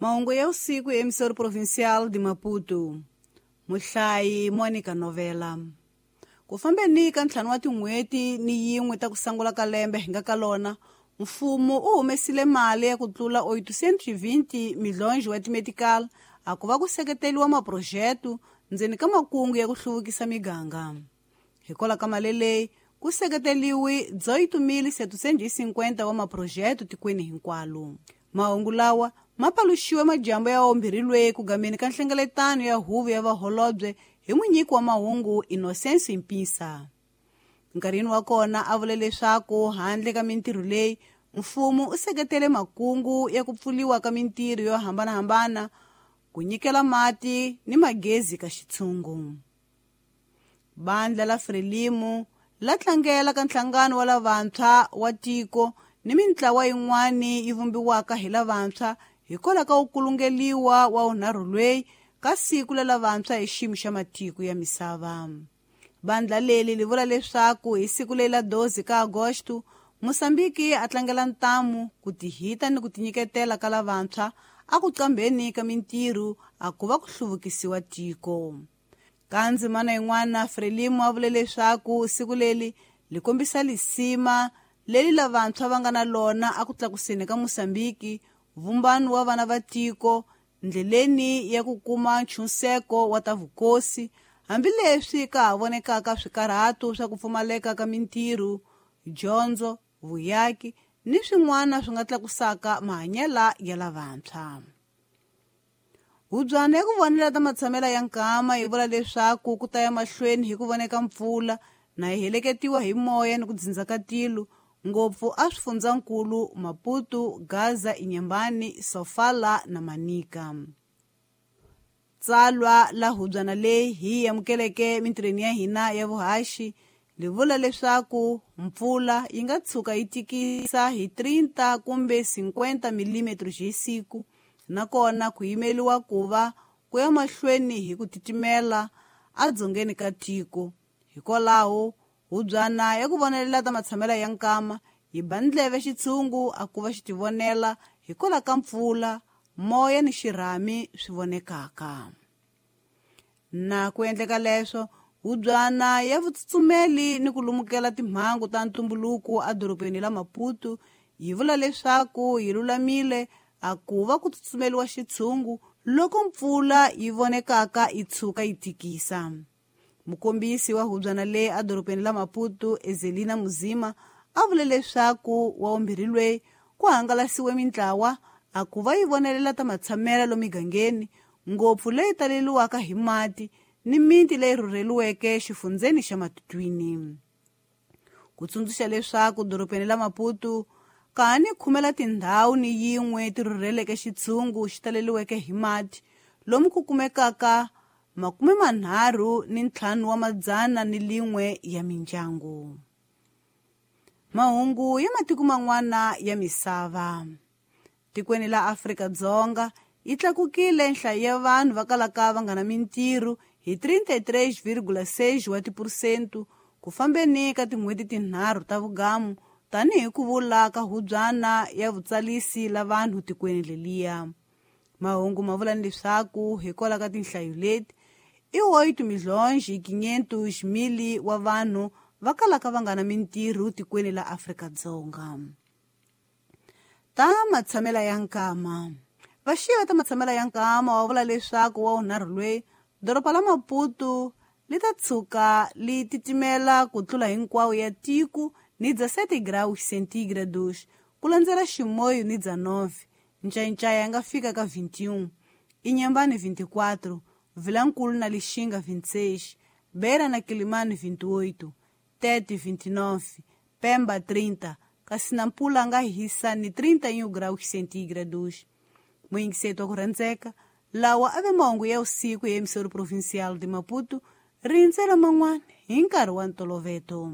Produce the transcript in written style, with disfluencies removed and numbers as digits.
Mahungu ya usiku ya emissora provincial de Maputo. Muhlayi Monica Novela. Ku fambeni ka ntlhanu wa tin'hweti ni yin'we ta ku sungula ka lembe hi nga ka lona, mfumo u humesile mali ya ku tlula 820 milhonji wa timedical a ku va ku seketeriwa maphurojete ndzeni ka makungu ya ku hluvukisa miganga. Hikwalaho ka mali leyi, ku seketeriwe 8750 wa maphurojete tikweni hinkwalo. Mahungu lawa ma paluxiwe majambu ya wambirhi ku gameni ka nhlengeletano ya huvo ya vaholobye hi munyiki wa mahungu Innocencio Mpisa. Nkarhini wa kona a vule leswaku handle ka mintirho leyi, mfumo u seketele makungu ya ku pfuriwa ka mintirho yo hambanahambana, ku nyikela mati ni magezi ka xitshungu. Bandla la Frelimo la tlangela ka nhlangano wa lavantshwa wa tiko ni mintlawa yin'wana yi vumbiwaka hi lavantshwa hikwalaho ka ku kulungeliwa wa wunharhu lweyi ka siku la lavantshwa hi xiyimo xa matiko ya misava. Bandla leri li vula leswaku hi siku leri la 12 ka Agosto, Mosambiki a tlangela ntamu, ku tihita ni ku tinyiketela ka lavantshwa a ku qambheni ka mintirho a ku va ku hluvukisiwa tiko. Ka ndzimana yin'wana, Frelimo a vule leswaku siku leri li kombisa lisima leri lavantshwa va nga na lona a ku tlakuseni ka Mosambiki, vumbano wa vana va tiko, ndleleni ya ku kuma nchunseko wa ta vukosi, hambileswi ka ha vonekaka swikarhato swa ku pfumaleka ka mintirho, dyondzo, vuyaki ni swin'wana swi nga tlakusaka mahanyelo ya lavantshwa. Hubyana ya ku vonela ta matshamela ya nkama yi vula leswaku ku ta ya mahlweni hi ku voneka mpfula na yi heleketiwa hi moya ni ku dzindza ka tilo, ngopfu a swifundzankulu Maputo, Gaza, Inhambane, Sofala na Manica. Tsalwa la hubyana leyi hi amukeleke mintirhweni ya hina ya vuhaxi li vula leswaku mpfula yi nga tshuka yi tikisa hi 30 kumbe 50 mm hi siku, nakona ku yimeliwa ku va ku ya mahlweni hi ku titimela edzongeni ka tiko. Hikwalaho, hubyana ya ku vonelela ta matshamela ya nkama yi ba ndleve xitshungu a ku va xi tivonela hikwalaho ka mpfula, moya ni xirhami swi vonekaka. Na ku endleka leswo, hubyana ya vutsutsumeli ni ku lumukela timhangu ta ntumbuluko edorobeni la Maputo yi vula leswaku yi lulamile a ku va ku tsutsumeliwa xitshungu loko mpfula yi vonekaka yi tshuka yi tikisa. Mukombisi wa hubyana leyi edorobeni la Maputo, Ezelina Muzima, a vule leswaku wa vumbirhi lweyi ku hangalasiwe mintlawa a ku va yi vonelela ta matshamelo lomigangeni, ngopfu leyi taleliwaka hi mati ni miti leyi rhurheliweke xifundzeni xa Matutuini. Ku tsundzuxa leswaku dorobeni la Maputo ka ha ni khumela tindhawu ni yin'we ti rhurheleke xitshungu xi taleliweke hi mati, lomu ku kumekaka 351 ya mindyangu. Mahungu ya matiko man'wana ya misava. Tikweni la Afrika-Dzonga yi tlakukile nhlayo ya vanhu va kalaka va nga na mintirho hi 33,6 wa tiphurosente ku fambeni ka tin'hweti tinharhu ta vugamu, tanihi ku vula ka hubyana ya vutsalisi la vanhu tikweni leliya. Mahungu ma vula leswaku hikwalaho ka tinhlayo leti, i 8 500 000 wa vanhu va kalaka va nga na mintirho tikweni la Afrika-Dzonga. Ta matshamela ya nkama. Vaxiva ta matshamela ya nkama wa vula leswaku wa wunharhu lweyi, doroba la Maputo li ta tshuka li titimela ku tlula hinkwawo ya tiko ni 17 graus centígrados, ku landzela Chimoio ni 19, Ncayincaya ya nga fika ka 21, Inhambane 24, Vilankulu na Lixinga 26, Beira na Quelimane 28, Tete 29, Pemba 30, kasi Nampula nga hisa ni 31 graus centígrados. Muyingiseti wa ku rhandzeka, lawa a ve mahungu ya usiku ya emissora provincial de Maputo, rindzela man'wana hi nkarhi wa ntoloveto.